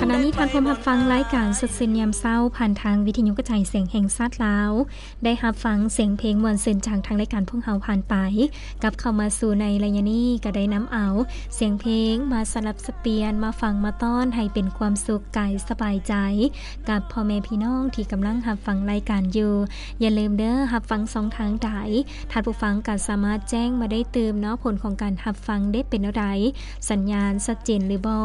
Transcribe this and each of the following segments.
ຂະນະນີ້ທ່ານພວມຮັບຟັງລາຍການສົດຊື່ນຍາມເຊົ້າ ຜ່ານທາງວິທະຍຸກະຈາຍສຽງແຫ່ງຊາດລາວ. ໄດ້ຮັບຟັງສຽງເພງມ່ວນຊື່ນຈາກທາງລາຍການພວກເຮົາຜ່ານໄປ. ກັບເຂົ້າມາສູ່ໃນໄລຍະນີ້ ກໍໄດ້ນຳເອົາສຽງເພງມາສະຫຼັບສະປ່ຽນ ມາຟັງມາຕ້ອນໃຫ້ເປັນຄວາມສຸກກາຍສະບາຍໃຈ ກັບພໍ່ແມ່ພີ່ນ້ອງທີ່ກຳລັງຮັບຟັງລາຍການຢູ່. ຢ່າລືມເດີ ຮັບຟັງຊ່ອງທາງໃດ ທ່ານຜູ້ຟັງກໍສາມາດແຈ້ງມາໄດ້ຕື່ມເນາະ ຜົນຂອງການຮັບຟັງເດເປັນແນວໃດ ສັນຍານຊັດເຈນຫຼືບໍ່.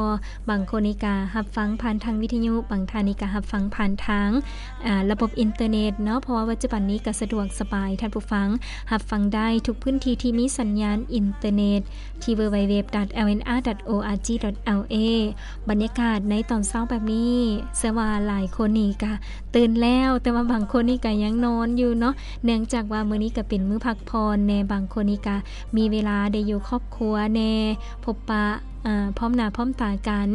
ບາງຄົນນີ້ກະຮັບຟັງຜ່ານທາງວິທະຍຸ ບາງທ່ານນີ້ກະຮັບຟັງຜ່ານທາງ ອາ ລະບົບອິນເຕີເນັດເນາະ ເພາະວ່າປັດຈຸບັນນີ້ກະສະດວກສະບາຍ ທ່ານຜູ້ຟັງຮັບຟັງໄດ້ທຸກພື້ນທີ່ທີ່ມີສັນຍານອິນເຕີເນັດ ທີ່ www.lnr.org.la. ບັນຍາກາດໃນຕອນເຊົ້າແບບນີ້ ເຊື່ອວ່າຫຼາຍຄົນນີ້ກະຕື່ນແລ້ວ ແຕ່ວ່າບາງຄົນນີ້ກະຍັງນອນຢູ່ເນາະ ເນື່ອງຈາກວ່າມື້ນີ້ກະເປັນມື້ພັກຜ່ອນແດ່ ບາງຄົນນີ້ກະມີເວລາໄດ້ຢູ່ຄອບຄົວແດ່ ພົບປະ ອາ ພ້ອມໜ້າພ້ອມຕາກັນ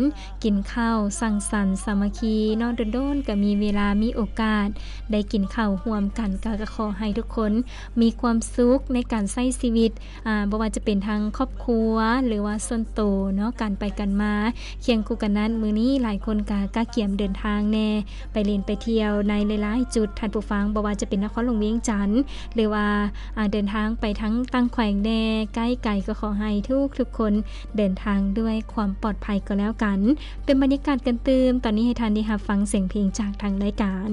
ກິນເຂົ້າ ສັງສັນສາມັກຄີເນາະ ດົນໆກະມີເວລາ ມີໂອກາດໄດ້ກິນເຂົ້າຮ່ວມກັນ. ກະ ກະຂໍໃຫ້ທຸກຄົນມີຄວາມສຸກໃນການໃຊ້ຊີວິດ ອາ ບໍ່ວ່າຈະເປັນທາງຄອບຄົວ ຫຼືວ່າສ່ວນໂຕເນາະ ການໄປກັນມາ. ຄຽງຄູ່ກັນນັ້ນ ມື້ນີ້ຫຼາຍຄົນກະກະກຽມເດີນທາງແດ່ ໄປຫຼິ້ນໄປທ່ຽວໃນຫຼາຍໆຈຸດ ທ່ານຜູ້ຟັງ ບໍ່ວ່າຈະເປັນນະຄອນຫຼວງວຽງຈັນ ຫຼືວ່າ ອາ ເດີນທາງໄປທາງຕ່າງແຂວງແດ່ ໃກ້ໄກ ກໍຂໍໃຫ້ທຸກໆຄົນເດີນທາງດ້ວຍຄວາມປອດໄພກໍແລ້ວກັນ. ເປັນບັນຍາກາດກັນຕື່ມ ຕອນນີ້ໃຫ້ທ່ານໄດ້ຮັບຟັງສຽງເພງຈາກທາງລາຍການ.